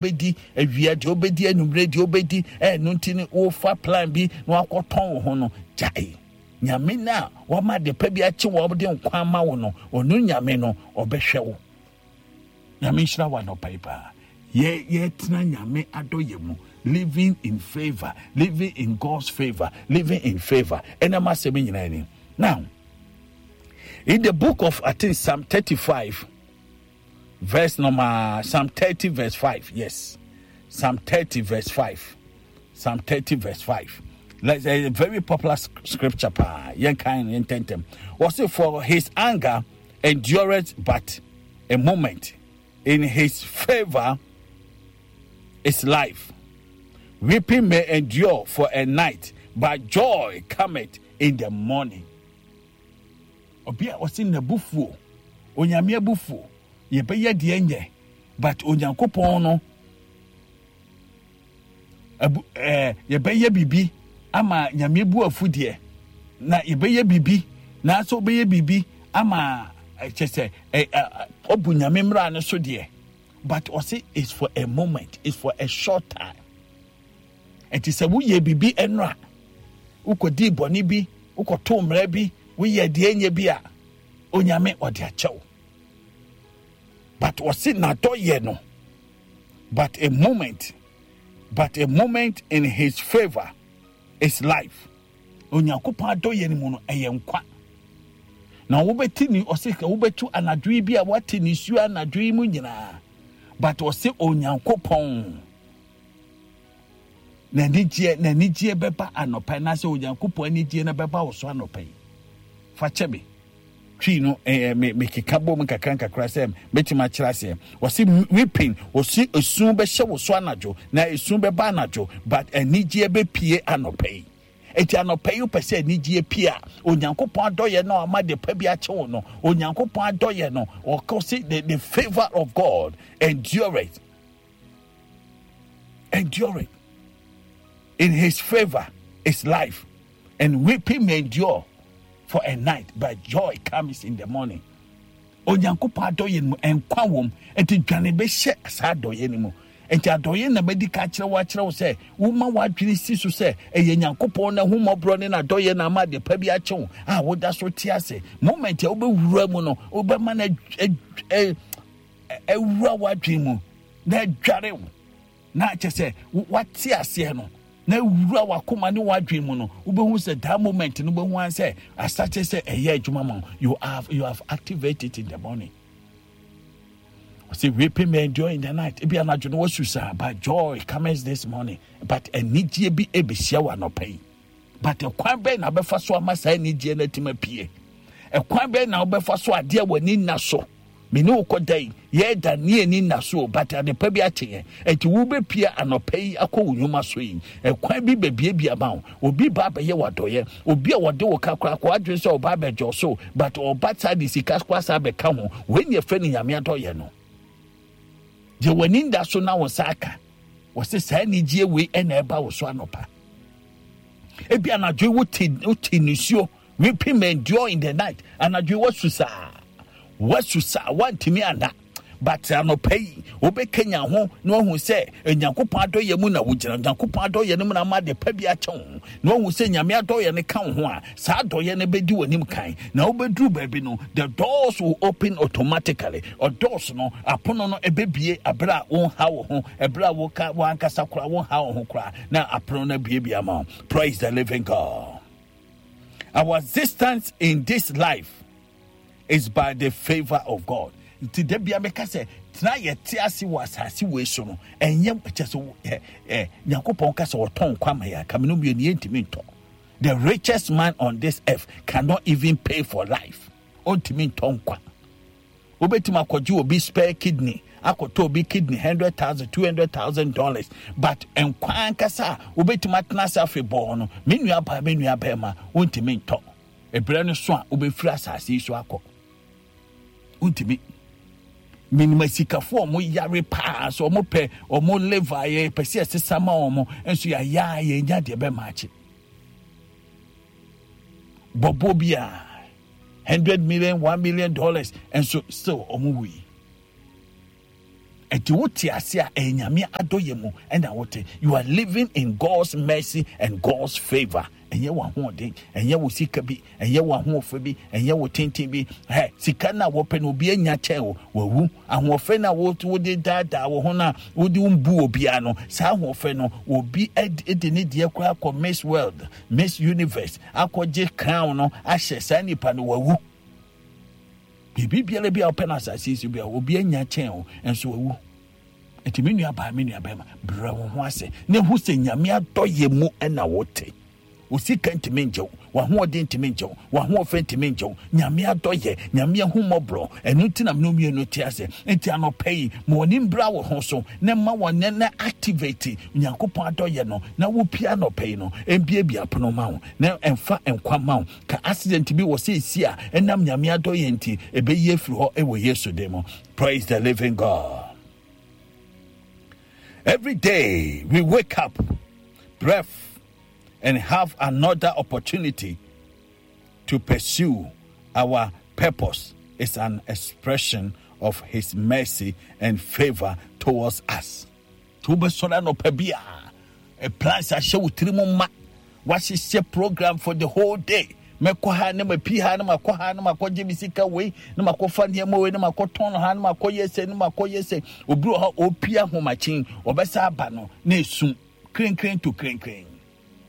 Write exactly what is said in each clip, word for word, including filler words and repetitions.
Wobɛdi awia deɛ, wobɛdi anwummerɛ deɛ, wobɛdi ɛno nti no, wofa plan bi na wakɔtɔn wo ho no. Gyae. Nyame no a wama de pa bi akye wɔ de nkwa ama wo no, ɔno Nyame no ɔbɛhwɛ wo. Nyame nhyira wo anɔpa yi paa. Yɛ yɛtena Nyame adɔyɛ mu, living in favor, living in God's favor, living in favor. Ɛnam asɛm nyinaa ni. Now, in the book of, I think, Psalm thirty-five verse number, Psalm thirty verse five. Yes, Psalm thirty verse five. Psalm thirty verse five. Let's a very popular scripture pa. Yɛn kan yɛn tentem. Wɔsi, "For his anger endureth but a moment, in his favor is life. Weeping may endure for a night, but joy cometh in the morning." Obi a ɔsi n'abufuo, Onyame abufuo, yɛbɛyɛ deɛ nyɛ, but Onyankopɔn no abu ɛɛ yɛbɛyɛ biribi ama Nyame bu afu deɛ, na yɛbɛyɛ biribi nanso wobɛyɛ biribi ama kyɛ sɛ ɛ ɛ ɔbu Nyame mmara no so deɛ, but ɔsi it's for a moment, it's for a short time. Nti sɛ woyɛ biribi ɛnora, wokɔdii bɔne bi, wokɔtoo mmara bi, woyɛ deɛ nyɛ bi a, Onyame ɔde akyɛw, but ɔsi n'adɔyɛ no but a moment, but a moment, in his favour is life. Onyankopɔn adɔyɛ no mu no ɛyɛ nkwa. Na wobɛti ni, ɔsi wobɛtu anadwo yi bi a wate nisuo anadwo yi mu nyinaa, but ɔsi Onyankopɔn n'anigyeɛ n'anigyeɛ bɛba anɔpa yi, n'asɛ Onyankopɔn anigyeɛ no bɛba wɔ so anɔpa yi. Fa kyɛ me twi no, ɛɛ me mekeka bom nkakra nkakra sɛ mɛtumi akyerɛ aseɛ. Wɔsi weeping, wɔsi esu bɛhyɛ wɔ so anadwo, na esu bɛba anadwo, but anigyeɛ bɛpie anɔpa yi. Eti anɔpa yi, wopɛ sɛ anigyeɛ pie a, Onyankopɔn adɔyɛ no ama de pa bi akyɛ wo no, Onyankopɔn adɔyɛ no, ɔkɔ si the the favour of God endure it, endure it. In his favour is life, and weeping may endure for a night, but joy comes in the morning. Onyankopɔn adɔyɛ no mu nkwa wɔ mu, nti dwane bɛhyɛ saa adɔyɛ no mu. Nti adɔyɛ na bɛdi ka kyerɛ wo, akyerɛ wo sɛ woma w'adwene si so sɛ ɛyɛ Nyankopɔn na hummɔborɔ ne n'adɔyɛ na ama ade pa bi akyɛ wo a woda so te ase. Moment a wobɛwura mu no, wobɛma no awura w'adwene mu na adware wo, na kyɛ sɛ wate aseɛ no na wura wakoma ne wadwene mu no, wobɛhu sɛ that moment no, wobɛhu an sɛ asate sɛ ɛyɛ adwuma ma you have you have activated in the morning. Ɔsɛ weeping may endure in the night, ebi anadwo no wasu saa, but joy comes this morning. But anigyeɛ bi ɛbɛhyia wɔ anɔpa yi, but ɛkwan bɛn na wobɛfa so ama saa anigyeɛ no atumi apue? Ɛkwan bɛn na wobɛfa so adeɛ wɔ ani nna so? Mene wo kɔda yi, yɛda ne ani nna so, but adepa bi akye yɛn. Ɛnti wobɛpie anɔpa yi akɔ wo nnwuma so yi, ɛkwan bi bɛbiebie ama wo. Obi ba abɛyɛ w'adɔyɛ, obi a wɔde wo ka koraa kɔ adwene sɛ ɔba abɛgye so, but ɔba saa de sika koraa saa bɛka ho. Wei ne yɛfrɛ no Nyame adɔyɛ no, deɛ w'ani nda so na wo nsa aka. Wɔsɛ saa anigyeɛ wei ɛna ɛba wo so anɔpa. Ebi anadwo yi wote wote nisuo, weeping may endure in the night. Anadwo yi wasu saa, wasu saa, wantumi ana, but anɔpa yi wobɛkanya ho na wahu sɛ Nyankopɔn adɔyɛ mu na wogyina. Nyankopɔn adɔyɛ no mu na ama de pa bi akyɛ wo, na wahu sɛ Nyame adɔyɛ no ka wo ho a, saa adɔyɛ no bɛdi w'anim kan, na wobɛduru baabi no, the doors will open automatically. Ɔdoors no, apono no ɛbɛbie aberɛ a wonha wo ho, ɛberɛ a woka wankasa koraa wonha wo ho koraa, na apono no abiebie ama wo. Praise the living God. Our existence in this life is by the favor of God. Nti da bia meka sɛ tena yɛte ase wɔ asase wei so no, ɛnyɛ kyɛ sɛ ɛ ɛ Nyankopɔn ka sɛ ɔtɔn nkwa ma yɛ akame no mmienu, yɛntumi ntɔ. The richest man on this earth cannot even pay for life. Ɔntumi ntɔ nkwa. Wobɛtumi akɔgye obi spare kidney, akɔtɔ obi kidney hundred thousand, two hundred thousand dollars, but nkwa ankasa a wobɛtumi atena ase afebɔɔ no, me nua baa, me nua bɛrima, wontumi ntɔ. Ɛberɛ no so a wobɛfiri asase yi so akɔ, wontumi. Menim asikafoɔ a ɔmo yare paa so, ɔmo pɛ ɔmo liver, yɛ pɛ sɛ yɛsesa ma ɔmo nso, yɛayɛ a yɛnya deɛ bɛma akye bɔbɔ bi a hundred million, one million dollars, nso still ɔmo wui. Enti wote ase a, ɛyɛ Nyame adɔyɛ mu ɛna wote. You are living in God's mercy and God's favor. Ɛnyɛ w'ahoɔden, ɛnyɛ wo sika bi, ɛnyɛ w'ahoɔfɛ bi, ɛnyɛ wo tenten bi. Hɛ, sika no a wɔpɛ no obi anya kyɛn wo, wawu. Ahoɔfɛ no a wode daadaa wo ho no a wode wo mbu obiara no, saa ahoɔfɛ no, obi de ne deɛ koraa kɔ Miss World, Miss Universe, akɔgye crown no ahyɛ saa nipa no, wawu. Biribi biara bi a wopɛ no asase yi so bi a obi anya kyɛn wo nso wawu. Nti me nua baa, me nua bɛrima, brɛ wo ho ase na ehu sɛ Nyame adɔyɛ mu na wote. Wo sika ntumi ngye wo, w'ahoɔden ntumi ngye wo, w'ahoɔfɛ ntumi ngye wo. Nyame adɔyɛ, Nyame ahummɔborɔ, ɛno nti na me mmienu te ase. Nti anɔpa yi, ma w'ani mbra wo ho so na ma wɔn na activate Nyankopɔn adɔyɛ no na wopia anɔpa yi no, mbiebie apono ma wo na ɛmfa nkwa ma wo. Ka accident bi wɔ sɛ esi a ɛnam Nyame adɔyɛ nti ɛbɛyi afiri hɔ ɛwɔ Yesu din mu. Praise the living God. Every day we wake up, breath, and have another opportunity to pursue our purpose is an expression of His mercy and favor towards us. Nti wobɛsɔre anɔpa bi a, plans ahyɛ wo tiri mu ma, wahyehyɛ program for the whole day. Mɛkɔ ha na mapi ha na makɔ ha na makɔgye me sika wei na makɔfa nneɛma wei na makɔtɔn ha na makɔyɛ sɛ na makɔyɛ sɛ. Obi wɔ hɔ ɔpie ahomakyen, ɔbɛsa aba no na esum krenkren to krenkren.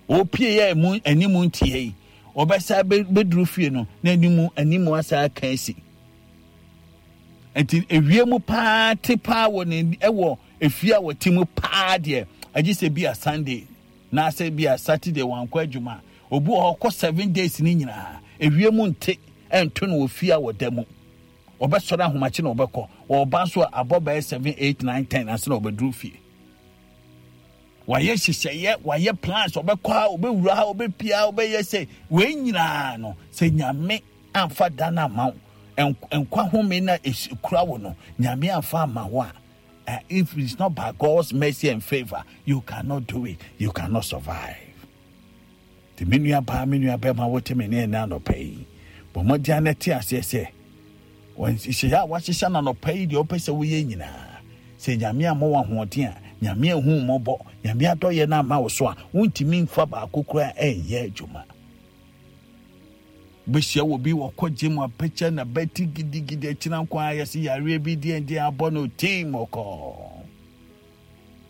Ɔpie yɛ emu anim ntie yi, ɔbɛsa bɛduru fie no na anim anim asa aka asi. Nti ewie mu paa te paa wɔ ne ɛwɔ efie a wɔte mu paa deɛ, agye sɛ bi a Sunday na asɛ bi a Saturday wankɔ adwuma. Obi wɔ hɔ kɔ seven days ne nyinaa ewie mu nte ɛnto no wɔ fie a wɔda mu. Ɔbɛsɔre ahomakye na ɔbɛkɔ. Ɔba nso a abɔ bɛyɛ seven, eight, nine, ten ansa na ɔbɛduru fie. Wayɛ nhyehyɛeɛ, wayɛ plans, ɔbɛkɔ ha, ɔbɛwura ha, ɔbɛpia ha, ɔbɛyɛ sɛ wei nyinaa no, sɛ Nyame amfa da no ama wo, nkwa home na ekura wo no, Nyame amfa ama wo a, uh, if it's not by God's mercy and favor, you cannot do it, you cannot survive. Nti me nua baa, me nua bɛrima, wote me ne ɛnɛ anɔpa yi, bɔ mmɔden a na te aseɛ sɛ nhyehyɛeɛ a wahyehyɛ no anɔpa yi deɛ wopɛ sɛ woyɛ nyinaa, sɛ Nyame ammɔ wo ahoɔden a, Nyame ahu mmɔbɔ, Nyame adɔyɛ no amma wo so a, wontumi mfa baako koraa ɛnyɛ adwuma. Bɛhyia wɔ bi wɔkɔ gye mu apɛkyɛ na bɛti gidigidi akyina nko ara yɛse yareɛ bi deɛ deɛ abɔ no team ɔkɔ.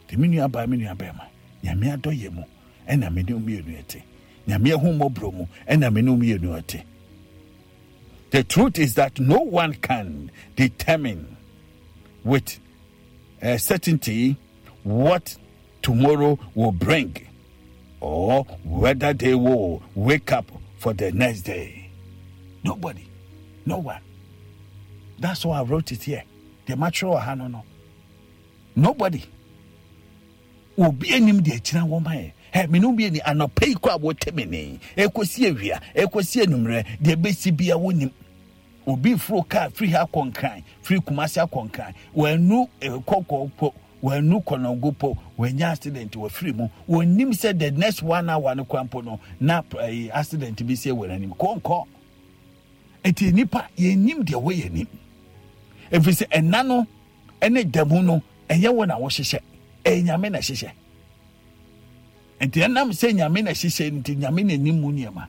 Nti me nua baa, me nua bɛrima, Nyame adɔyɛ mu ɛna me ne mmienu ɛte. Nyame ahu mmɔborɔ mu ɛna me ne mmienu ɛte. The truth is that no one can determine with uh, certainty what tomorrow will bring or whether they will wake up for the next day. Nobody. No one. That's why I wrote it here. The mature no no. Nobody. Obi anim de akyina wɔn ma yɛ. Ɛ me no bi ani anɔpa yi kɔ a wɔte me ne. Ekosi awia, ekosi anummerɛ, deɛ bɛsi bia wɔnim. Obi foro kaa firi ha kɔ Nkran, firi Kumasi akɔ Nkran. Wɔanu kɔkɔɔ po, wɔanu kɔnɔngo po, wɔanya accident wɔfiri mu. Wɔnim sɛ the next one hour no kora mpo no na eh, accident bi si wɔ n'anim. Kɔnkɔ. Eti nipa yɛnim deɛ wɔyɛ nim. Ɛfiri sɛ ɛna no ɛne da mu no ɛnyɛ wo na wohyehyɛ, ɛyɛ Nyame na ɛhyehyɛ. Nti ɛnam sɛ Nyame na ɛhyehyɛ nti Nyame na ɛnim mu nneɛma.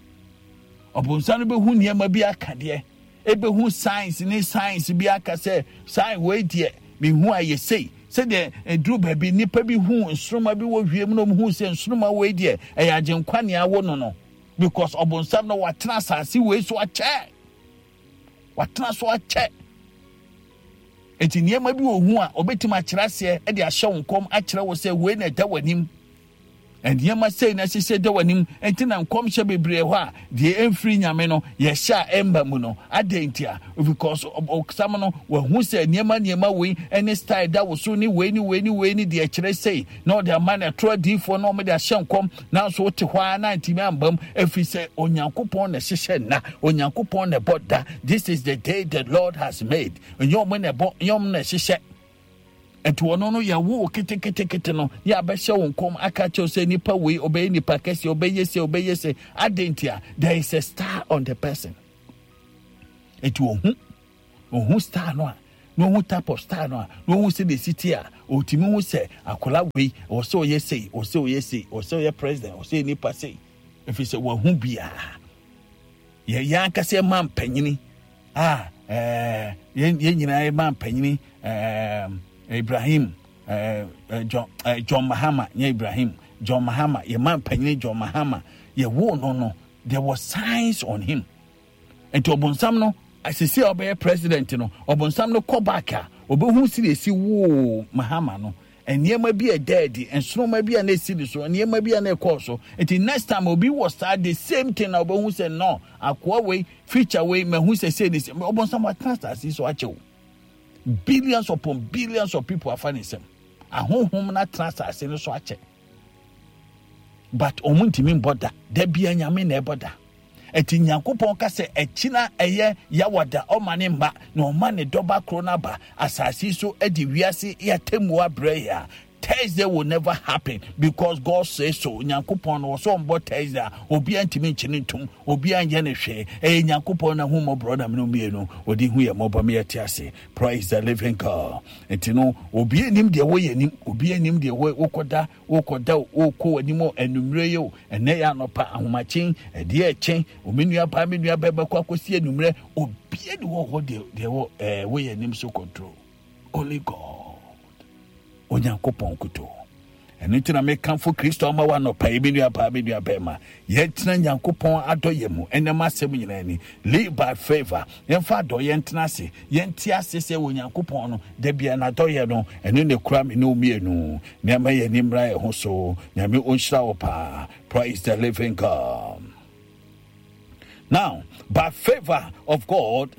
Ɔbonsam no bɛhu nneɛma bi aka deɛ, ɛbɛhu science ne science bi aka sɛ sign wei deɛ mehu a yɛ sei. Sɛdeɛ ɛduru baabi nnipa bi hu nsoroma bi wɔ wiem na ɔmu sɛ nsoroma wei deɛ ɛyɛ agyenkwa nea awo no no, because ɔbonsam no watena asase wei so akyɛ, watena so akyɛ. Enti nneɛma bi wɔ hu a ɔbɛtumi akyerɛ aseɛ de ahyɛ wo nkɔm akyerɛ wo sɛ wei na ɛda w'anim. Nneɛma sei na ɛhyehyɛ da w'anim. Enti na nkɔmhyɛ bebree hɔ a deɛ ɛmfiri Nyame no yɛhyɛ a ɛmba mu no. Adɛn nti a? Because ɔsam no wahu sɛ nneɛma nneɛma wei ne style da wo so ne wei ne wei ne wei ne deɛ ɛkyerɛ sei na ɔde ama no ɛtoro adiyifoɔ na wɔde ahyɛ nkɔm, nanso wote hɔ ara na ntumi amba mu, ɛfiri sɛ Onyankopɔn na ɛhyehyɛ nna, Onyankopɔn na ɛbɔ da. This is the day the Lord has made. Ɛnyɛ ɔmo na ɛbɔ, ɛnyɛ ɔmo na ɛhyehyɛ. Nti ɔno no yɛwo wo keteketekete no yɛ abɛhyɛ wo nkɔm aka kyerɛw sɛ nipa wei ɔbɛyɛ nipa kɛseɛ, ɔbɛyɛ se, ɔbɛyɛ se. Adɛn nti a? There is a star on the person. Nti ohu, ohu star no a na ɔhu type of style no a, na ɔhu sɛ deɛ ɛsi te a, ɔtumi hu sɛ akwadaa wei ɔwɔ sɛ ɔyɛ sei, ɔwɔ sɛ ɔyɛ sei, ɔwɔ sɛ ɔyɛ president, ɔwɔ sɛ ɔyɛ nipa sei, ɛfiri sɛ wahu biara. Yɛ yɛn ankasa yɛ ma mpanyini a ɛɛ yɛn yɛn nyinaa yɛ ma mpanyini ɛɛ Ibrahim ɛɛ John ɛɛ John Mahama nyɛ Ibrahim John Mahama yɛ ma mpanyini John Mahama yɛ wo no no there was signs on him. Nti ɔbonsam no asisi a ɔbɛyɛ president no ɔbonsam no kɔ back a ɔbɛhu si esi woo Mahama no nneɛma bi a ɛda adi nsoroma bi a na esi ne so nneɛma bi a na ɛkɔɔ so nti next time obi wɔ saa the same thing na ɔbɛhu sɛ no akoa wei feature wei mahu sɛ sei ne sɛ ɔbonsam atena asase so akyɛw billions upon billions of people afa ne nsam ahohom na atena asase no so akyɛ but ɔmo ntumi mbɔ da da bia nyame na ɛbɔ da ɛti nyankopɔn ka sɛ ɛkyina ɛyɛ yawada ɔma ne mma na ɔma ne dɔba koro no aba asase so de wiase yɛatemmu abrɛ yɛ a Thursday will never happen because God says so. Nyankopɔn no wɔsɔ ɔmbɔ Thursday a obiara ntumi nkyene ntom obiara nyɛ ne hwee ɛyɛ Nyankopɔn na ahummɔborɔ na mene mmienu ɔde hu yɛ mmɔbɔ me yɛte ase. Praise the living God. Nti no obiara nim deɛ wɔyɛ nim obiara nim deɛ wokɔda wokɔda wokɔ w'anim anwummerɛ yi o ɛnɛ yɛ anɔpa ahomakyen ɛdeɛ ɛkyen omi nua baa me nua bɛɛ bɛkɔ akɔsi anwummerɛ obiara ni wɔ hɔ deɛ deɛ wɔ ɛɛ wɔyɛ anim so control only God onyankopɔn kutoo ɛno nti na mekamfo kristo ama wo anɔpa yi me nua baa me nua bɛrima yɛntena nyankopɔn adɔyɛ mu ɛnɛ m'asɛm nyinaa ni live by favor yɛmfa adɔyɛ ntena ase yɛnte ase sɛ wɔ nyankopɔn no da bia n'adɔyɛ no ɛno na ɛkura me ne wo mmienu nneɛma yɛ ani mmra yɛ ho so nyame ɔnhyira wo paa praise the living God now by favor of God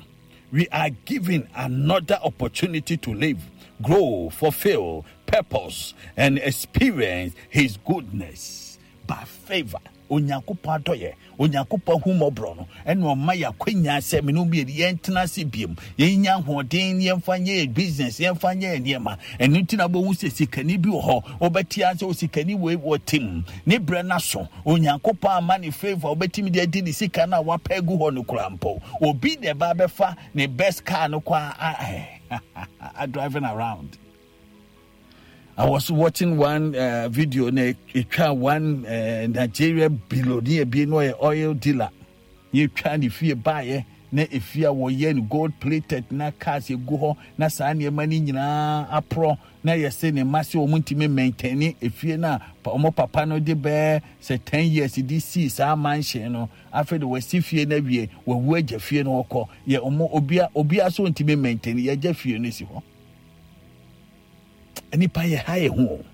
we are given another opportunity to live, grow, fulfill purpose, and experience His goodness by favor. Onyankopɔn adɔyɛ, Onyankopɔn ahummɔborɔ no, ɛna ɔma yɛ akwanya sɛ me ne mmienu yɛntena ase biom, yɛnya ahoɔden, yɛmfa nyɛ yɛ business, yɛmfa nyɛ yɛ nneɛma. Ɛno nti na wobɛhu sɛ sikani bi wɔ hɔ, wobɛte ara sɛ osikani wei wɔ tim, ne berɛ no aso. Onyankopɔn ama ne favor a wobɛtumi de adi ne sika no a wapɛ agu hɔ no koraa mpo. Obi na ɛba abɛfa ne best car no kɔ a, a, driving around. I was watching one uh, video na etwa one uh, Nigeria billionaire bi no yɛ oil dealer. Yɛtwa ne fie baeɛ na efie a wɔyɛ no gold plated na cars egu hɔ na saa nneɛma no nyinaa aporɔ na yɛsɛ ne mma sɛ wɔn ntumi maintain efie no a wɔn papa no de bɛɛ sɛ ten years de sii saa mansion no afei de wɔasi fie no awie wɔawu agya fie no wɔkɔ yɛ wɔn obia obia so ntumi maintain yɛagya fie no si hɔ nipa yɛ ha yɛ ho o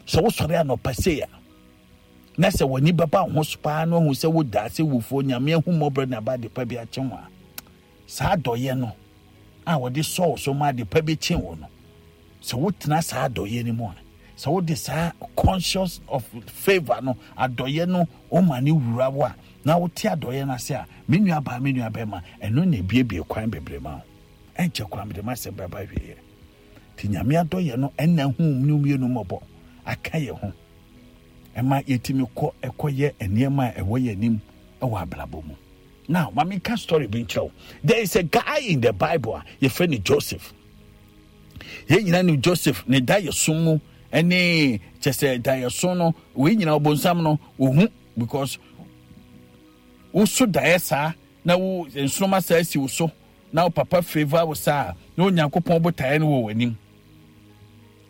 sɛ wosɔre anɔpa sei a na sɛ w'ani bɛba wo ho so paa na wahu sɛ woda ase wufoɔ nyame ahummɔborɔ na aba adepa bi akye ho a saa adɔyɛ no a wɔde sɔɔ so ma adepa bi kye wo no sɛ wotena saa adɔyɛ no mu a sɛ wode saa conscious of favor no adɔyɛ no woma ne wura wo a na wote adɔyɛ no ase a me nua baa me nua bɛma ɛno na ebiebie kwan bebree ma wo ɛnkyɛ koraa mede m'asɛm bɛba awieɛ nti nyame adɔyɛ no ɛna hu ne mmienu mmɔbɔ aka yɛ ho ɛma yɛtumi kɔ ɛkɔyɛ nneɛma a ɛwɔ yɛn anim ɛwɔ abrabɔ mu now ma menka story bi nkyerɛ wo there is a guy in the bible a yɛfrɛ no joseph yɛn nyinaa nim joseph ne daeɛso mu ɛne kyɛ sɛ daeɛso no wei nyinaa ɔbonsam no ohu because woso daeɛ saa na wo nsoroma saa si wo so na wo papa favor wo saa na onyankopɔn botaeɛ no wɔ w'anim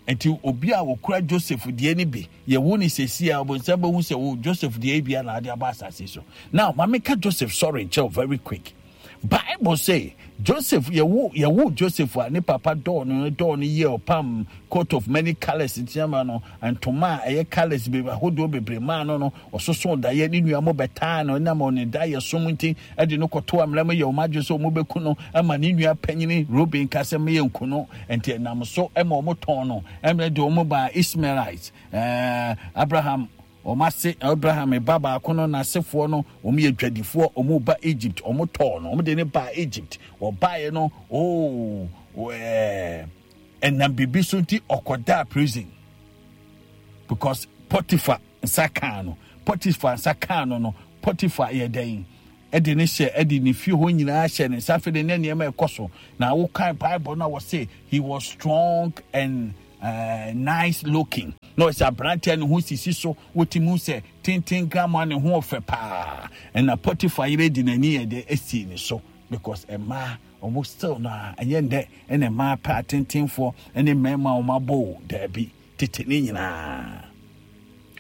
nti obi a wɔkura joseph deɛ no bi yɛwo ne sɛsi a ɔbonsam bɛhu sɛ wo joseph deɛ bi a na ade aba asase so now ma meka joseph sorry nkyɛw very quick bible say joseph yɛwo yɛwo joseph a ne papa dɔɔ no dɔɔ no yie ɔpam coat of many colours ntiama no ntoma a ɛyɛ colours bebree ahodoɔ bebree maa no no ɔsoso daeɛ ne nua mo bɛtaa no ɛnam ɔne daeɛ som nti ɛde no kɔto amena mu yɛ wɔn adwene sɛ wɔn bɛku no ɛma ne nua panyini Reuben ka sɛ meyɛ nku no nti ɛnam so ɛma wɔn tɔn no ɛmɛ de wɔn baa Ishmaelites ɛɛ Abraham wɔn ase Abraham ba baako no n'asefoɔ no wɔn yɛ dwadifoɔ wɔn ba Egypt wɔn tɔɔ no wɔn de ne baa Egypt wɔbaeɛ no oo ɛɛ ɛnam biribi so nti ɔkɔdaa prison because Potiphar nsa kaa no Potiphar nsa kaa no no Potiphar yɛ dɛn Ɛde ne hyɛ ɛde ne fie hɔ nyinaa hyɛ ne nsa. Afei de ne nneɛma ɛkɔ so na wokan Bible no a, wɔse he was strong and uh, nice looking. Na ɔsɛ aberanteɛ ne ho sisi so, wotumi sɛ tenten grama ne ho ɔfɛ paa. Ɛna Potiphar yere di n'ani yɛ de esi ne so, because mmaa ɔmo still no a, ɛnyɛ ndɛ ɛna mmaa pɛ atentenfoɔ ɛne mmarima a ɔmo abɔ o. Daabi, tete ne nyinaa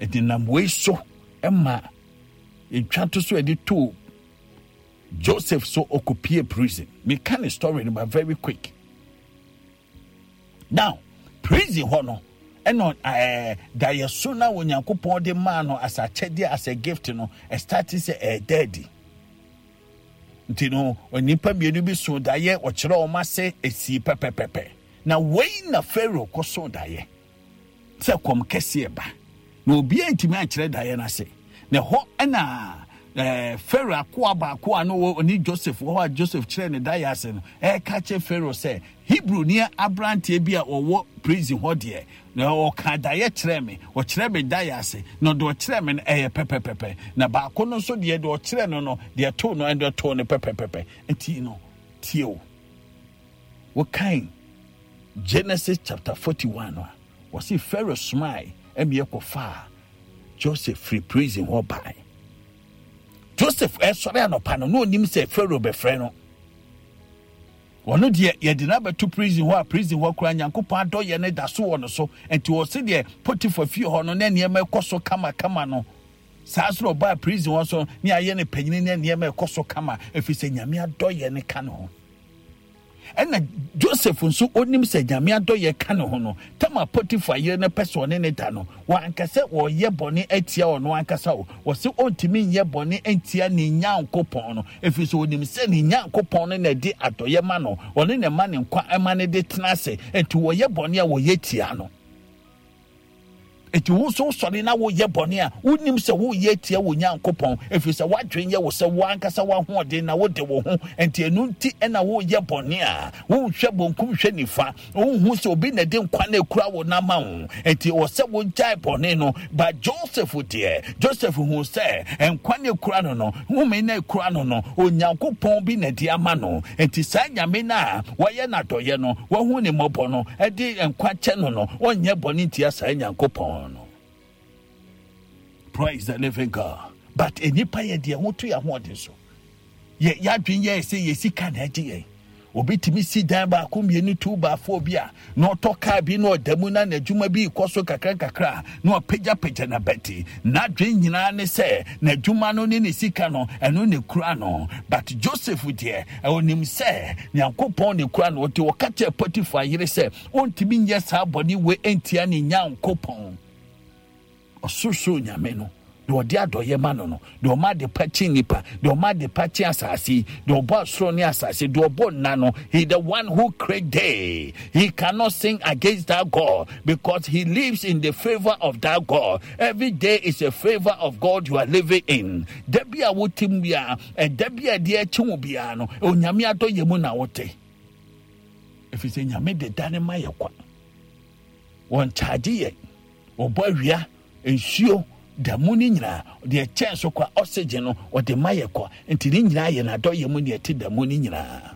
ɛde nam wei so ɛma etwa to so ɛde to Joseph so ɔkɔpie prison. Meka ne story no but very quick. Now prison hɔ no, ɛna ɛɛ daeɛso na Onyankopɔn de maa no as akyɛdeɛ, as a gift no, ɛstart sɛ ɛɛda adi. Nti no onipa mmienu bi so daeɛ, ɔkyerɛ wɔn ase, esi pɛpɛpɛpɛ. Na wei na Pharaoh kɔ so daeɛ sɛ kɔm kɛseɛ ba na obiara ntumi ankyerɛ daeɛ no ase. Na ɛhɔ ɛna ɛɛ Pharaoh akoa baako a no ɔne Joseph wɔ hɔ a Joseph kyerɛ ne daeɛ ase no ɛreka kyerɛ Pharaoh sɛ Hebrew ni aberanteɛ bi a ɔwɔ prison hɔ deɛ, na ɔka daeɛ kyerɛ me, ɔkyerɛ me daeɛ ase, na ɔde ɔkyerɛ me no ɛyɛ pɛpɛpɛpɛ. Na baako no nso deɛ, deɛ ɔkyerɛ no no deɛ too no, ɛde too no pɛpɛpɛpɛ. Nti no tie o, wɔkan Genesis chapter forty-one no a, wɔsi Pharaoh somae ɛmi ɛkɔfaa Joseph firi prison hɔ bae. Joseph ɛsɔre anɔpa no na onim sɛ Pharaoh bɛfrɛ no. Ɔno deɛ, yɛde no abɛto prison hɔ a, prison hɔ koraa Nyankopɔn adɔyɛ no da so wɔ no so. Nti ɔse deɛ Potiphar fie hɔ no na nneɛma ɛkɔ so kamakama no, saa so na ɔbaa prison hɔ so ne ayɛ no panyini ne nneɛma ɛkɔ so kama, ɛfiri sɛ Nyame adɔyɛ no ka ne ho. Ɛna Joseph nso onim sɛ Nyame adɔyɛ ka ne ho no, tama Potiphar yere no pɛ sɛ ɔne ne da no, wanka sɛ wɔyɛ bɔne atia ɔno ankasa o. Wɔse ɔntumi nyɛ bɔne ntia ne Nyankopɔn no, ɛfiri sɛ onim sɛ ne Nyankopɔn no na ɛde adɔyɛ ma no, ɔne ne ma ne nkwa ɛma ne de tena ase. Nti wɔyɛ bɔne a, wɔyɛ tia no. Enti wo nso wosɔre na woyɛ bɔne a, wonim sɛ woyɛ tia wo Nyankopɔn, ɛfiri sɛ woadwen yɛ wo sɛ wo ankasa woahoɔden na wode wo ho. Enti ɛno nti ɛna woyɛ bɔne a, wonhwɛ bonkum hwɛ nifa, wonhu sɛ obi na ɛde nkwa no ekura wo nama wo. Enti wɔ sɛ wogyae bɔne no. But Joseph deɛ, Joseph hu sɛ nkwa no ekura no no home no ekura no no Onyankopɔn bi na ɛde ama no. Enti saa Nyame no a wɔyɛ n'adɔyɛ no, wahu ne mmɔbɔ no, ɛde nkwa kyɛ no no ɔnyɛ bɔne ntia saa Nyankopɔn no. Praise the living God. But enipa yɛ deɛ ho to yɛ ahoɔden so. Yɛ yɛadwen yɛ sɛ yɛ sika na ɛgye yɛn. Obi tumi si dan baako, mmienu, two, baafo bi a na ɔtɔ kaa bi na ɔda mu na n'adwuma bi kɔ so kakra kakra na ɔpagyapagya n'abati. N'adwen nyinaa ne sɛ n'adwuma no ne ne sika no, ɛno ne kura no. But Joseph deɛ, ɔnim sɛ Nyankopɔn ne kura no. Ɔte ɔka kyerɛ Potiphar yere sɛ ɔntumi nyɛ saa bɔne wei ntia ne Nyankopɔn, ɔsorosoro Nyame no, deɛ ɔde adɔyɛ ma no no deɛ ɔma ade pa kye nipa, deɛ ɔma ade pa kye asase yi, deɛ ɔbɔ asoro ne asase, deɛ ɔbɔ nna no. He the one who create day, he cannot sin against that God because he lives in the favor of that God. Every day is a favor of God you are living in. Da bi a wotim bia, ɛda bi a ɛde akyi wo biara no, Onyame adɔyɛ mu na wote, ɛfiri sɛ Nyame de da ne ma yɛ kwa. Wɔn kyaagye yɛ, wɔbɔ awia, nsuo da mu no nyinaa, deɛ kyɛn so kwa, oxygen no ɔde ma yɛ kwa. Nti ne nyinaa yɛ n'adɔyɛ mu ne ɛte da mu no nyinaa.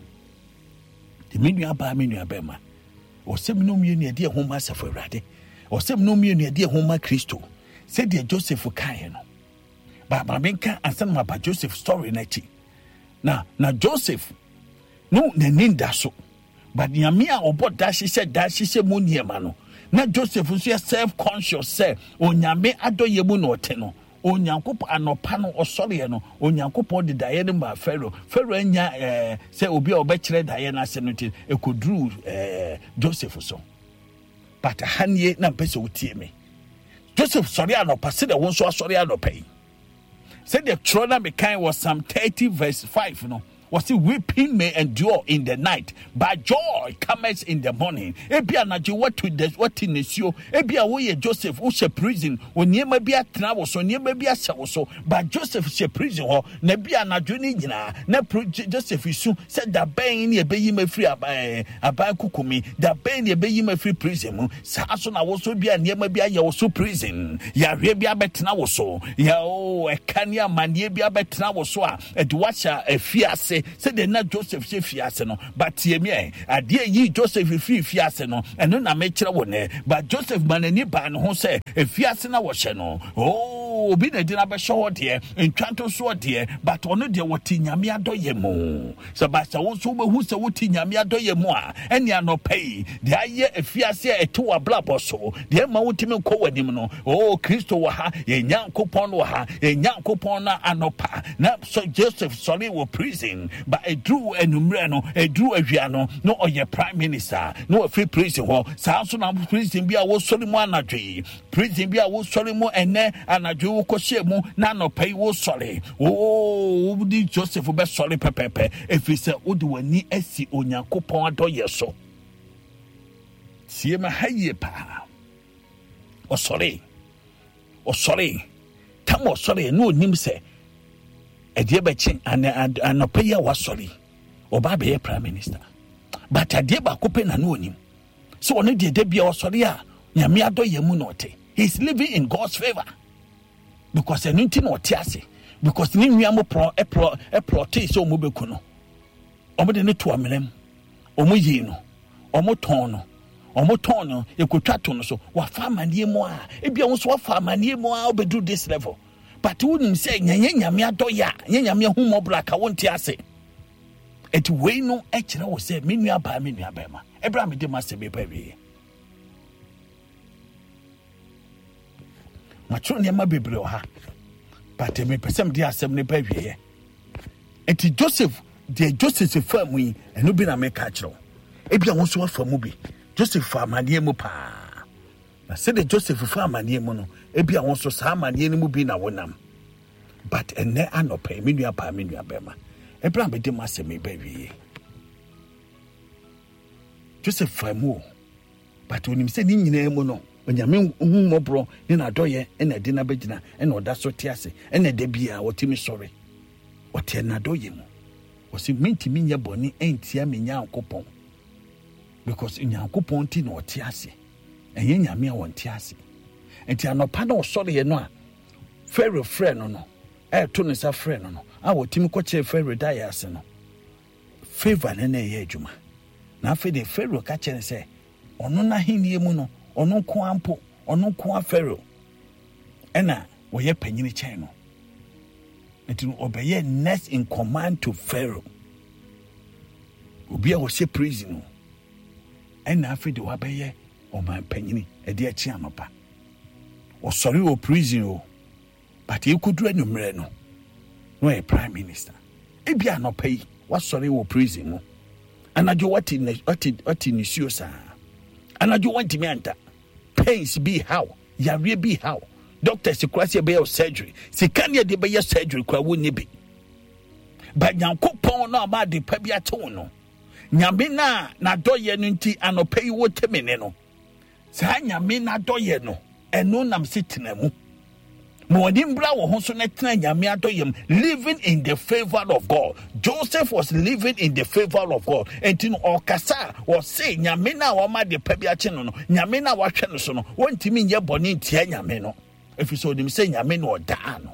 Nti me nua baa, me nua bɛrima, ɔsɛm no mmienu yɛde ɛho ma asafo Awurade, ɔsɛm no mmienu yɛde ɛho ma Kristo, sɛdeɛ Joseph kaeɛ no. Baaba menka ansa na maba Joseph story no akyi. Na na Joseph no n'ani da so, but Nyame a ɔbɔ da hyehyɛ da hyehyɛ mu nneɛma no, na Joseph nso yɛ self conscious sɛ Onyame adɔyɛ mu na ɔte no. Onyankopɔn anɔpa no ɔsɔreɛ no, Onyankopɔn de daeɛ no maa Pharaoh. Pharaoh anya ɛɛ sɛ obi a ɔbɛkyerɛ daeɛ no ase no, nti ɛkɔduruu ɛɛ Joseph so. But ha nie na mpɛ sɛ wotie me. Joseph sɔre anɔpa sɛdeɛ wo nso asɔre anɔpa yi, sɛdeɛ twerɛ na mekan wɔ Psalm thirty verse five no. Wɔsi weeping may endure in the night, but joy comes in the morning. Ebi anadwo watu de wati nisuo. Ebi a woyɛ Joseph, wohyɛ prison, wɔ nneɛma bi atena wo so, nneɛma bi ahyɛ wo so. But Joseph hyɛ prison hɔ, na ebi anadwo ne nyinaa na Joseph su sɛ dabɛn ne ebeyi ma firi aban aban kukumi, dabɛn ne ebeyi ma firi prison mu. Saa so na woso bi a nneɛma bi ayɛ wo so prison, yareɛ bi abɛtena wo so, yɛ o ɛka ne amanneɛ bi abɛtena wo so a ɛde wahyɛ afiase sɛdeɛ na Joseph hyɛ fiase no. But tie mi ɛ, adeɛ yi Joseph firi fiase no, ɛno na mekyerɛ wo nɛ. But Joseph ma n'ani baa ne ho sɛ efiase na wɔhyɛ no, oh, obi na ɛde no abɛhyɛ hɔ deɛ, ntwanto soɔ deɛ, but ɔno deɛ wɔte Nyame adɔyɛ mu. Sɛ ba sɛ wo nso wobɛhu sɛ wote Nyame adɔyɛ mu a, ɛne anɔpa yi deɛ ayɛ efiase a ɛte w'abrabɔ so, deɛ ɛma wontumi nkɔ w'anim no, oh, Kristo wɔ ha, yɛn Nyankopɔn wɔ ha, yɛn Nyankopɔn no anɔpa na so Joseph sɔre wɔ prison, ba ɛduru anwummerɛ no, ɛduru awia no, na ɔyɛ prime minister, na wafiri prison hɔ. Saa nso na prison bi a wosɔre mu anadwo yi, prison bi a wosɔre mu ɛnɛ anadwo yi wokɔhyɛ mu na anɔpa yi wosɔre, oo, wode Joseph bɛsɔre pɛpɛpɛ, ɛfiri sɛ wode w'ani asi Onyankopɔn adɔyɛ so. Sie ma ha yie paa. Ɔsɔre, ɔsɔre, tam ɔsɔre na onim sɛ ɛdeɛ bɛkye anɔpa yi a wasɔre ɔba abɛyɛ prime minister. But adeɛ baako pɛ na na onim sɛ ɔno deɛ da bia ɔsɔre a Nyame adɔyɛ mu na ɔte. He is living in God's favor because ɛno nti na ɔte ase, because ne nua mo plɔ ɛplɔ ɛplɔtee sɛ ɔmo bɛku no, ɔmo de ne to amena mu, ɔmo yii no, ɔmo tɔn no, ɔmo tɔn no, ekotwa to no so. Wafa amaneɛ mu a, ebi a nso wafa amaneɛ mu a ɔbɛduru this level, but wonim sɛ nyɛ Nyame adɔyɛ a, nyɛ Nyame ahummɔborɔ a ka wonte ase. Eti wei no ɛkyerɛ wo sɛ me nua baa, me nua bɛrima, ɛberɛ a mede m'asɛm ba awie, matwerɛ nneɛma bebree wɔ ha, but mepɛ sɛ mede asɛm no ba awieɛ. Eti Joseph, deɛ Joseph fa mu yi, ɛno bi na meka kyerɛ wo. Ebi a wo nso wafa mu bi. Joseph fa amaneɛ mu paa. Na sɛdeɛ Joseph fa amaneɛ mu no, ebi a wo nso saa amaneɛ no mu bi na wonam. But ɛnɛ anɔpa yi, me nua baa, me nua bɛrima, ɛberɛ a mede m'asɛm yi ba awieɛ, Joseph fa mu o, but onim sɛ ne nyinaa mu no, Onyame hu mmɔborɔ ne n'adɔyɛ ɛna ɛde no abɛgyina, ɛna ɔda so te ase, ɛna ɛda biara ɔtumi sɔre. Ɔte n'adɔyɛ mu. Ɔse mentumi nyɛ bɔne ɛntia me Nyankopɔn, because Nyankopɔn nti na ɔte ase, ɛnyɛ Nyame a ɔnte ase. Nti anɔpa na ɔsɔreɛ no a Pharaoh frɛ no no, ɛɛto ne nsa frɛ no no, a wɔtumi kɔkyerɛ Pharaoh daeɛ ase no, favor ne na ɛyɛ adwuma. Na afei de Pharaoh ka kyerɛ no sɛ ɔno n'ahenni mu no, ɔno nko ara mpo, ɔno nko ara Pharaoh ɛna wɔyɛ panyini kyɛn no. Nti no ɔbɛyɛ next in command to Pharaoh. Obi a ɔhyɛ prison no, ɛna afei de wabɛyɛ ɔman panyini ɛde akyi anɔpa. Ɔsɔre wɔ prison o, but ekodu anwummerɛ no, na ɔyɛ prime minister. Ebi anɔpa yi wasɔre wɔ prison mu, anadwo wate ne wate wate nisuo saa, anadwo wantumi anta, pains bi haw, yareɛ bi haw, doctors kura sɛ ɛbɛyɛ surgery, sika ne yɛde bɛyɛ surgery kura wonni bi. But Nyankopɔn no ama ade pa bi akye wo no, Nyame na n'adɔyɛ no nti anɔpa yi wote me ne no, saa Nyame n'adɔyɛ no ɛno nam se tena mu. Ma wɔde mbra wɔ ho so na tena Nyame adɔyɛ mu, living in the favor of God. Joseph was living in the favor of God. Enti no ɔkasa a ɔse Nyame na wama ade pa bi akye no no, Nyame na wahwɛ no so no, wɔntumi nyɛ bɔne ntia Nyame no, ɛfiri sɛ ɔnim sɛ Nyame na ɔdaa no.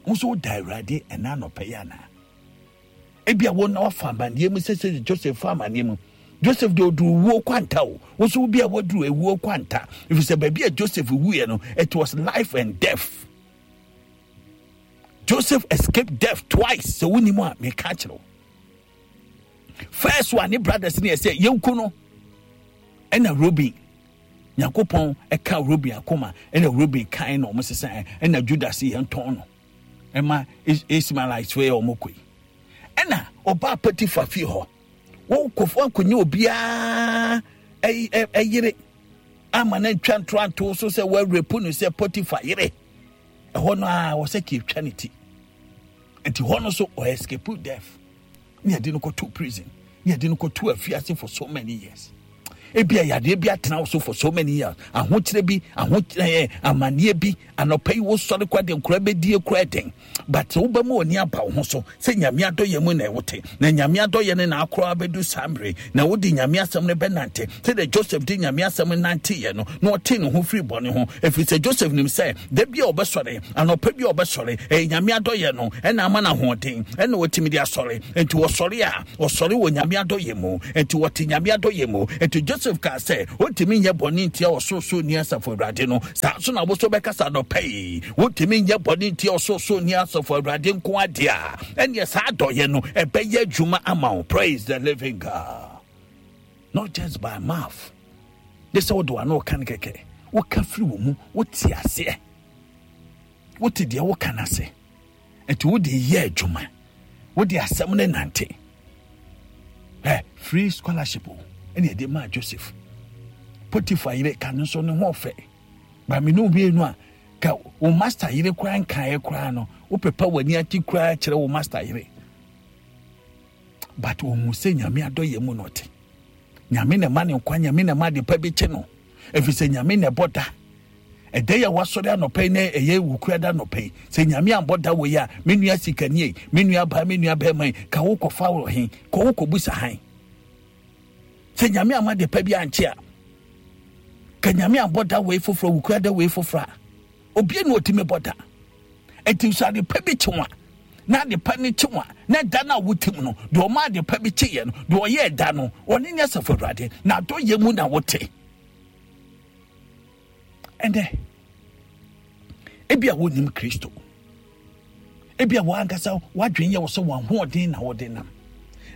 Wo nso woda Awurade ɛna anɔpa yi anaa? Ebi a wo na wafa amanneɛ mu sɛ sɛ Joseph fa amanneɛ mu. Joseph de oduru wuo kwanta o. Wo nso bi a waduru ewuo kwanta. Ɛfiri sɛ baabi a Joseph wuiɛ no, it was life and death. Joseph escaped death twice. Sɛ wonim a meka kyerɛ wo. First one ne brothers ne yɛ sɛ yɛnku no, ɛna Reuben, Nyankopɔn ɛka Reuben akoma, ɛna Reuben kan na ɔmo sesa, ɛna Judas yɛn tɔn no ɛma Ismaelites fo yɛ ɔmo kɔ yi. Ɛna ɔbaa Potiphar fie hɔ, wɔnkɔ wɔnkɔnyɛ obiara ɛyere ama no ntwa ntoanto so sɛ wɔarepu no sɛ Potiphar yere. Ɛhɔ no a wɔsɛ kì etwa ne ti. Nti hɔ no so ɔ escape death. Ne yɛde no kɔto prison, ne yɛde no kɔto afiase for so many years. Ebia yadeɛ bi atena wo so for so many years, ahokyerɛ bi, ahokyerɛ, amanneɛ bi. Anɔpa yi wosɔre kora de nkora bɛdie kora den, but wobɛma w'ani aba wo ho so sɛ Nyame adɔyɛ mu na ɛwote, na Nyame adɔyɛ no na akora abɛdu saa mmere, na wode Nyame asɛm no bɛnante sɛdeɛ Joseph de Nyame asɛm nanteeɛ no, na ɔtee ne ho firi bɔne ho. Ɛfiri sɛ Joseph nim sɛ da bi a ɔbɛsɔre, anɔpa bi a ɔbɛsɔre, ɛyɛ Nyame adɔyɛ no ɛna ama no ahoɔden ɛna wɔtumi de asɔre. Nti wɔsɔre a, ɔsɔre wɔ Nyame adɔyɛ mu, nti wɔte Nyame adɔyɛ mu. Nti Joseph kaa sɛ ɔntumi nyɛ bɔne ntia Ɔsorosoro ni Asafo Awurade no. Saa nso na wo so bɛkasa anɔpa yi, wontumi nyɛ bɔne ntia Ɔsorosoro ni Asafo Awurade nko adeɛ a, ɛneɛ saa adɔyɛ no ɛbɛyɛ adwuma ama wo. Praise the living God. Not just by mouth, de sɛ wode w'ano ka no kɛkɛ, woka firi wo mu, wote aseɛ, wote deɛ woka no ase, nti wode yɛ adwuma, wode asɛm no nante. Ɛ free scholarship o, ɛne ɛde maa Joseph. Potiphar yere ka no nso ne ho ɔfɛ ba me ne mmienu a, ka wo master yere koraa nkaeɛ koraa no, wopepa w'ani ati koraa kyerɛ wo master yere, but ohun sɛ Nyame adɔyɛ mu na ɔte. Nyame na ɛma ne nkwa, Nyame na ɛma ade pa bi kye no, ɛfiri sɛ Nyame na ɛbɔ da. Ɛda yi a wasɔre anɔpa yi na ɛyɛ wukura da anɔpa yi, sɛ Nyame ambɔ da wɔ yi a, me nua sikani yi, me nua baa, me nua bɛrima yi, ka wo kɔfa wɔ he, kɔ wo kɔbusa han. Sɛ Nyame ama de pa bi ankye a, ka Nyame ambɔ da wɔ yi foforɔ, wukura da wɔ yi foforɔ a, obie na ɔtumi bɔ da. Enti sɛ ade pa bi kye wa, na ade pa ne kye wa, na da no a wotim no, deɛ ɔma ade pa bi kyeeɛ no, deɛ ɔyɛɛ da no, ɔne ne Asafo Awurade, na adɔyɛ mu na wote. Ɛnɛ ebi a wonim Kristo, ebi a wankasa wadwen yɛ wo sɛ wɔn ahoɔden na wɔde nam,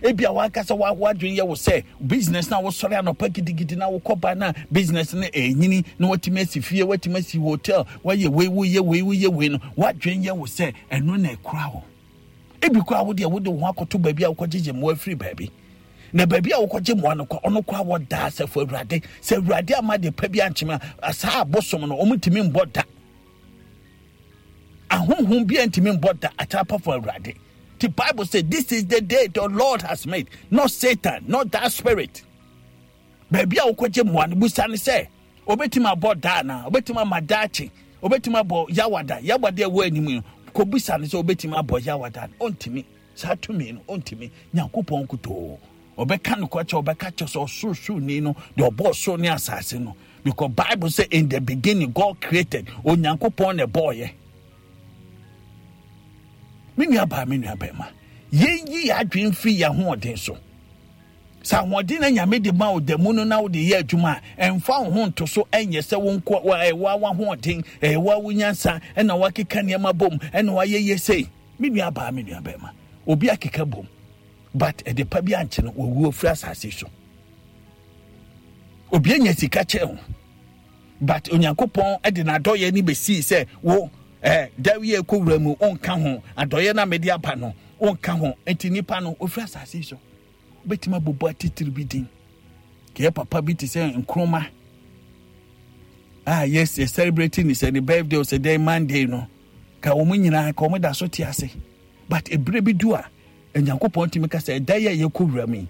ebi a wankasa wadwen yɛ wo sɛ business na wosɔre anɔpa gidigidi na wokɔ ba na business no ɛnyini na watumi asi fie, watumi asi hotel, wayɛ wei, woyɛ wei, woyɛ wei no, wadwen yɛ wo sɛ ɛno na ɛkura wo. Ebi koraa wo deɛ wode wo ho akɔto baabi a wokɔgyegye mmoa afiri baabi, na baabi a wokɔgye mmoa no kɔ, ɔno koraa wɔda Asafo Awurade sɛ Awurade ama de pa bi ankyem a, saa abosom no wɔn ntumi mbɔ da, ahonhom bi ntumi mbɔ da akyerɛpafo Awurade. The Bible says this is the day the Lord has made, not Satan, not that spirit. Baabi a wokɔgye mmoa no, busa ne sɛ obetumi abɔ da anaa, obetumi ama daakye, obetumi abɔ yawada, yawada ɛwɔ anim yi, kɔbusa ne sɛ obetumi abɔ yawada no, ɔntumi. Saa tumi no ɔntumi. Nyankopɔn nkutoo ɔbɛka no kɔkyɛ, ɔbɛka kyɛ sɛ ɔsorosoroni no, deɛ ɔbɔɔ soro ne asase no. Because Bible say in the beginning God created, Onyankopɔn na ɛbɔɔyɛ. Me nua baa, me nua bɛrima, yɛnyi yɛ adwene mfiri yɛn ahoɔden so. Sɛ ahoɔden na Nyame de ma wo da mu no na wode yɛ adwuma a, ɛmfa wo ho nto so, ɛnyɛ sɛ wo nko, ɛyɛ wo ahoɔden, ɛyɛ wo wo nyansa, ɛna wakeka nneɛma bom, ɛna wayɛ yɛ sei. Me nua baa, me nua bɛrima, obi akeka bom, but ɛde pa bi ankye no, wɔwu afiri asase so. Obi anya sika kyɛn ho, but Onyankopɔn de n'adɔyɛ ne bɛsii sɛ wo eh, dawie kɔ wura mu, ɔnka ho, adɔyɛ no a mede aba no, ɔnka ho. Nti nipa no, ɔfiri asase so. Wobɛtumi abobɔ atitiri bi din. Kɛyɛ papa bi te sɛ Nkrumah a yes, yɛ celebrating ne sɛ ne birthday sɛ dɛn Monday no, ka wɔn nyinaa ka wɔn da so te ase. But ebere bi du a, Onyankopɔn tumi ka sɛ ɛda yi a yɛkɔ wura mu yi,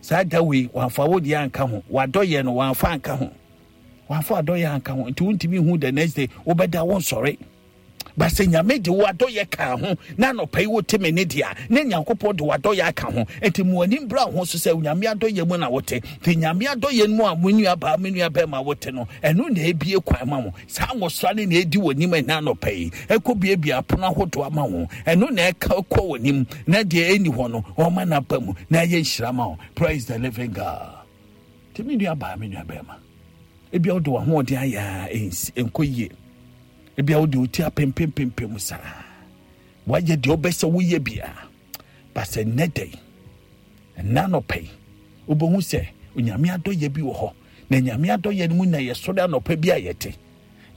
saa da wei wɔamfa wo deɛ anka ho, wadɔyɛ no wɔamfa anka ho, wɔamfa adɔyɛ anka ho, nti wontumi hu the next day wobɛda wo nsɔre. But sɛ Nyame de wo adɔyɛ ka ho na anɔpa yi wote me ne deɛ, na Nyankopɔn de wo adɔyɛ aka ho, nti mo anim bra ho so sɛ Nyame adɔyɛ mu na wote. Nti Nyame adɔyɛ mu a mo nua baa, me nua bɛrima wote no, ɛno na ebie kwan ma wo. Saa nwosra ne na edi w'anim ɛna anɔpa yi, ɛkɔ biebie apono ahodoɔ ama wo. Ɛno na ɛka kɔ w'anim, na deɛ ɛni hɔ no ɔma n'aba mu na ɛyɛ nhyira ma wo. Praise the living God. Nti me nua baa, me nua bɛrima, ebia wode w'ahoɔden ayɛ a ɛnkɔ yie, ebia wode wo ti apempempempem saa, wayɛ deɛ wobɛ sɛ woyɛ bia, ba sɛ nnɛ da yi, ɛnna anɔpa yi, wobɛhu sɛ Onyame adɔyɛ bi wɔ hɔ, na Nyame adɔyɛ no mu na yɛsɔre anɔpa bi a yɛte.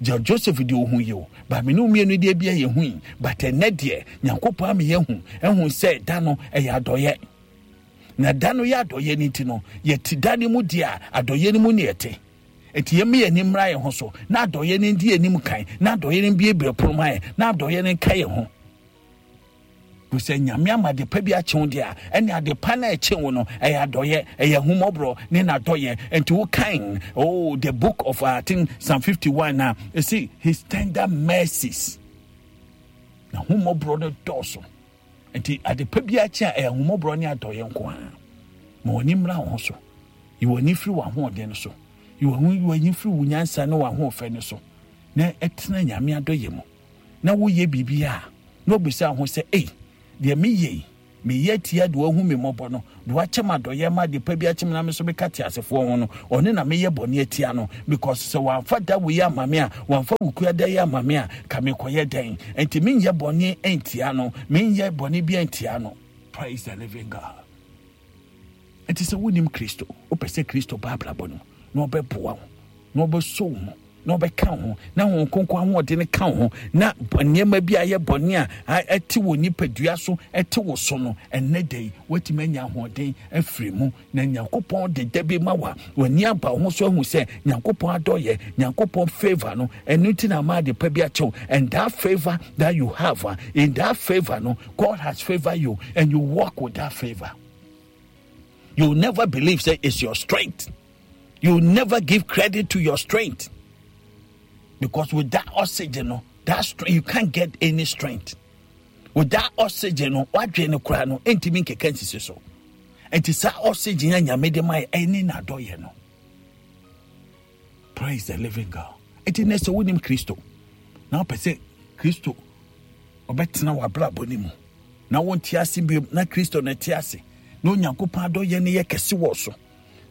Gya Joseph deɛ ohu yi o, ba me ne mmienu deɛ bi a yɛhu yi, but ɛnnɛ deɛ Nyankopɔn ama yɛhu, ɛhu sɛ da no ɛyɛ adɔyɛ. Na da no yɛ adɔyɛ no nti no, yɛte da no mu deɛ a, adɔyɛ no mu ne yɛte. Enti yɛmma yɛn ani mmra yɛn ho so, na adɔyɛ no ndi anim kan, na adɔyɛ no mbiebie pono ma yɛn, na adɔyɛ no nka yɛn ho. Sɛ Nyame ama adepa bi akye wo deɛ a, ɛne adepa no a ɛkye wo no ɛyɛ adɔyɛ, ɛyɛ ahummɔborɔ ne n'adɔyɛ. Nti wo kan, oh, the book of uh, I think Psalm fifty-one na ɛsi his tender mercies, na ahummɔborɔ no dɔɔso. Nti adepa bi akye a ɛyɛ ahummɔborɔ ne adɔyɛ nko ara. Ma w'ani mmra wo ho so, yi w'ani firi w'ahoɔden no so, yi w'ani firi wo nyansa ne w'ahoɔfɛ no so, na ɛtena Nyame adɔyɛ mu. Na woyɛ biribi a na obisa ho sɛ, ei, deɛ meyɛ yi, meyɛ tia de wahu me mmɔbɔ no, de wakyɛ m adɔyɛ ma adepa bi akyɛ me na me so meka te asefoɔ ho no, ɔne na meyɛ bɔne atia no, because sɛ wamfa da wei ama me a, wamfa wokua da yi ama me a, ka mekɔyɛ dɛn? Enti menyɛ bɔne ntia no, menyɛ bɔne bi ntia no. Praise the living God. Enti sɛ wonim Kristo, wopɛ sɛ Kristo ba abrabɔ no na ɔbɛboa wo, na ɔbɛsɔ wo mu, na ɔbɛka wo ho, na Honhom Kronkron ahoɔden no ka wo ho, na nneɛma bi a ɛyɛ bɔne a ɛte wɔ nipadua so, ɛte wo so no, ɛnnɛ da yi woatumi anya ahoɔden afiri mu. Na Nyankopɔn de da bi ma wa, w'ani aba wo ho so ahu sɛ Nyankopɔn adɔyɛ, Nyankopɔn favor no, ɛno nti na ama ade pa bi akyɛw. And that favor that you have, in that favor no, God has favored you, and you walk with that favor. You will never believe say it's your strength. You will never give credit to your strength, because with that oxygen, no, that strength, you can't get any strength. With that oxygen, no, what drain the cry no, enti min keken sisi so. Enti sa oxygen ya nyame de mai eni na do ye no. Praise the living God. Enti ne se wonim Kristo. Na pese Kristo obetena wa brabo ni mu. Na wonte ase bi na Kristo na te ase. Na Onyankopɔn adɔyɛ ne yɛ kɛse wɔ so.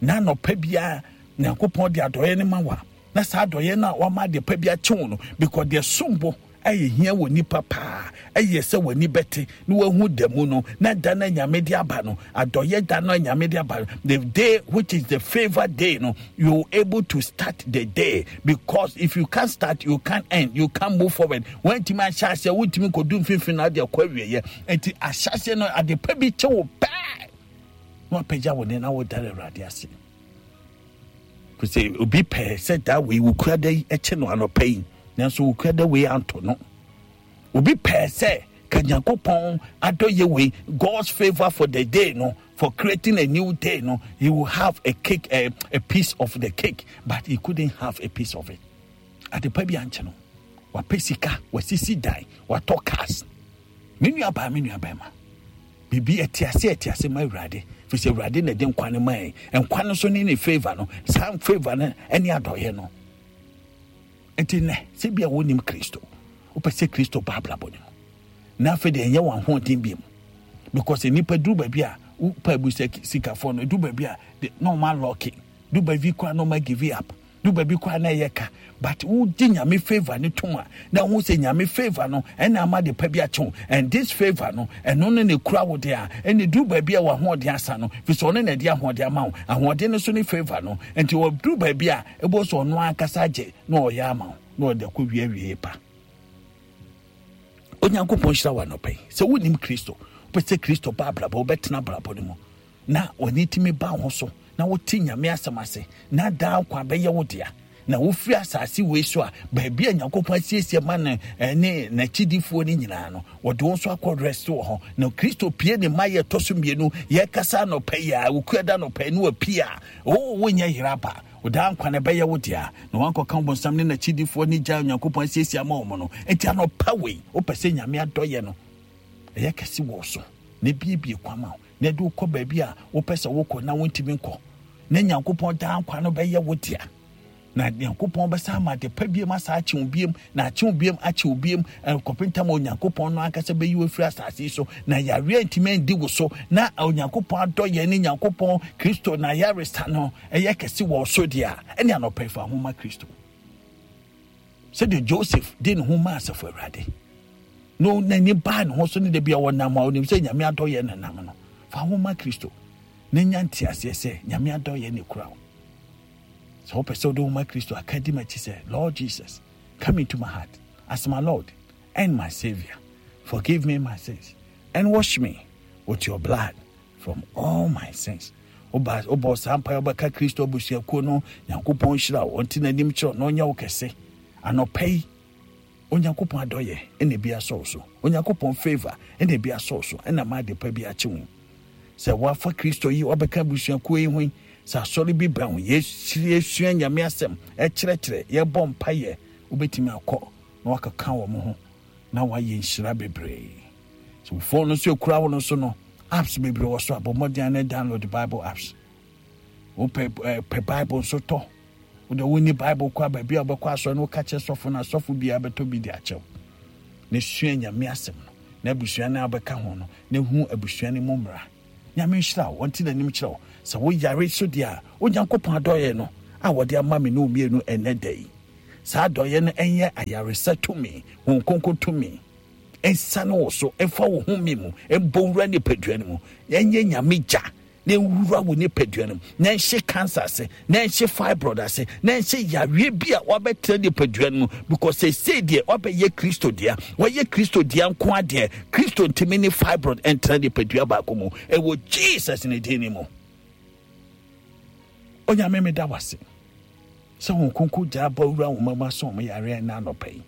Na anɔpa bia Nyankopɔn de adɔyɛ ne ma wa. Na saa adɔyɛ na wama de pa bi akye wo no, because de sombo ɛyɛ hia wɔ nipa paa. Ɛyɛ sɛ w'ani bɛte na wahu da mu no, na da na Nyame de aba no, adɔyɛ da na Nyame de aba no, the day which is the favor day no, you able to start the day, because if you can't start, you can't end, you can't move forward. When timi ahyɛ aseɛ, wontumi nkɔdu mfimfini na ade akɔ awieɛ. Enti ahyɛ aseɛ no, ade pa bi kyɛ wo pɛɛ, na wapagya wo ne na wodare Awurade ase. Sɛ obi pɛɛ sɛ da wei wokura da yi ɛkyɛ no anɔpa yi, nanso wokura da wei anto no. Obi pɛɛ sɛ ka Nyankopɔn adɔyɛ wei, God's favor for the day no, for creating a new day no, he will have a cake, a, a piece of the cake, but he couldn't have a piece of it. Adepa bi ankyɛ no, wapɛ sika, wasisi dan, watɔ cars. Me nua baa, me nua bɛrima, biribi ɛte ase, ɛte ase ma Awurade, firi sɛ Awurade na ɛde nkwa no ma yɛn. Nkwa no so ne ne favor no, saa favor no ɛne adɔyɛ no. Nti nnɛ, sɛ bi a wonim Kristo, wopɛ sɛ Kristo ba abrabɔ no mu, na afei deɛ ɛnyɛ wɔn ahoɔden bi mu, because nnipa duru baabi a wopɛ abu sɛ sikafoɔ no, duru baabi a de, na wɔn alɔke, duru baabi koraa na wɔn give up, duru baabi koraa na ɛyɛ ka. But wogye Nyame favor ne tom a, na wohu sɛ Nyame favor no ɛna ama de pa bi akye wo. And this favor no, ɛno no na ekura wo de a, ɛna duru baabi a w'ahoɔden asa no, firi sɛ ɔno na ɛde ahoɔden ama wo. Ahoɔden no so ne favor no. Nti wɔduru baabi a, ɛbɔ sɛ ɔno ankasa agye na ɔyɛ ama wo, na ɔde akɔ wie awie pa. Onyankopɔn hyira wo anɔpa yi. Sɛ wonim Kristo, wopɛ sɛ Kristo ba abrabɔ, wobɛtena abrabɔ no mu, na w'ani tumi ba wo ho so, na wote Nyame asɛm ase, na daa nkwa bɛyɛ wo dea. Na wofiri asase wei so a, baabi a Nyankopɔn asiesie ma no ne n'akyidifoɔ no nyinaa no, wɔde wɔn nso akɔ rest wɔ hɔ. Na Kristo pie ne mma yɛ ɛtɔ so mmienu, yɛkasa anɔpa yi a, wokua da anɔpa yi na wapie a, oo, wonyɛ yera ba. Ɔdaa nkwa na ɛbɛyɛ wo dea, na wankɔka ɔbonsam ne n'akyidifoɔ ne gya a Onyankopɔn asiesie ama wɔn no. Enti anɔpa wei, wopɛ sɛ Nyame adɔyɛ no ɛyɛ kɛse wɔ so, na ebiebie kwan ma wo, na ɛde wokɔ baabi a wopɛ sɛ wokɔ na wontumi nkɔ, na Nyankopɔn daa nkwa no bɛyɛ wo dea. Na Nyankopɔn bɛsa ama ade pa biem asa akye wo biem, na akye wo biem, akye wo biem, kɔpem tam a Onyankopɔn no ankasa bɛyi wo afiri asase yi so, na yareɛ ntumi andi wo so, na Onyankopɔn adɔyɛ ne Nyankopɔn Kristo na yaresa no ɛyɛ kɛse wɔ so deɛ a, ɛne anɔpa yi fa ho ma Kristo. Sɛdeɛ Joseph de ne ho maa asafo Awurade, na n'ani baa ne ho so ne da bi a wɔnam a onim sɛ Nyame adɔyɛ na nam no, fa ho ma Kristo na nya nteaseɛ sɛ Nyame adɔyɛ ne kura wo. Sɛ wopɛ sɛ wode wo ma Kristo a, ka di m'akyi sɛ, Lord Jesus, come into my heart as my Lord and my Savior. Forgive me my sins and wash me with your blood from all my sins. Oba, oba saa mpaeɛ wobɛka Kristo abusuakuo no, Nyankopɔn nhyira wo, ɔnte n'anim kyerɛ wo, na ɔnyɛ wo kɛse. Anɔpa yi, Onyankopɔn adɔyɛ ɛna ebi asɔ wo so. Onyankopɔn favour ɛna ebi asɔ wo so ɛna ma ade pa bi akye wo. Sɛ woafa Kristo yi wabɛka abusuakuo yi ho yi, sɛ asɔre bi bɛn wo, yɛsua Nyame asɛm, ɛkyerɛkyerɛ, yɛbɔ mpaeɛ, wobɛtumi akɔ na wakeka wɔn ho na wayɛ nhyira bebree. So wo phone no so ekura wo no so no, apps bebree wɔ so a bɔ mmɔden na download Bible apps. Wopɛ eh, pɛ Bible nso tɔ. Wode wonni Bible kɔ a baabi a wobɛkɔ asɔre no woka kyerɛ sɔfo no asɔfo biara bɛtɔ bi de akyɛw. Na sua Nyame asɛm no na abusua no a wobɛka ho no na hu abusua no mu mmara. Nyame nhyira wo, ɔnte n'anim kyerɛ wo. Sɛ woyare so deɛ a, Onyankopɔn adɔeɛ no a wɔde ama me ne wo mmienu ɛnnɛ da yi, saa adɔeɛ no ɛnyɛ ayaresa tumi, Honhom Kronkron tumi, ɛnsane wo so, ɛmfa wo home mu, ɛmbɔ wura nipadua no mu, ɛnyɛ Nyame gya na ɛnwura wo nipadua no mu, na ɛnhye cancer ase, na ɛnhye fibroid ase, na ɛnhye yareɛ bi a wabɛtena nipadua no mu, because seesei deɛ wabɛyɛ Kristo dea. Wɔyɛ Kristo dea nko adeɛ, Kristo ntumi ne fibroid ɛntena nipadua baako mu, ɛwɔ Jesus ne din no mu. Onyame, meda wase sɛ wɔn konko gyaa bɔ wura wɔn mama sɛ wɔn yareɛ ɛna anɔpa yi,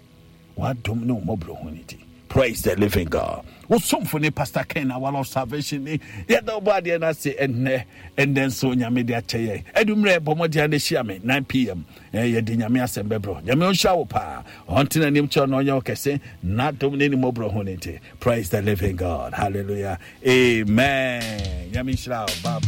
wadom ne wɔn mmɔborɔhunu no ti. Praise the living God. Wo somfo ne Pastor Ken Awala of Salvation ni. Yɛda ɔbɔ adeɛ no ase ɛnnɛ. Ɛnnɛ nso Nyame de akyɛ yɛn. Adummerɛ bɔ mmɔden na hyia me nine p m. Yɛde Nyame asɛm bɛbrɛ. Nyame ɔnhyira wo paa. Ɔnte n'anim kyerɛ na ɔnyɛ wo kɛse. N'adom ne ne mmɔborɔhunu no nti. Praise the living God. Hallelujah. Amen. Nyame nhyira wo. Bye bye.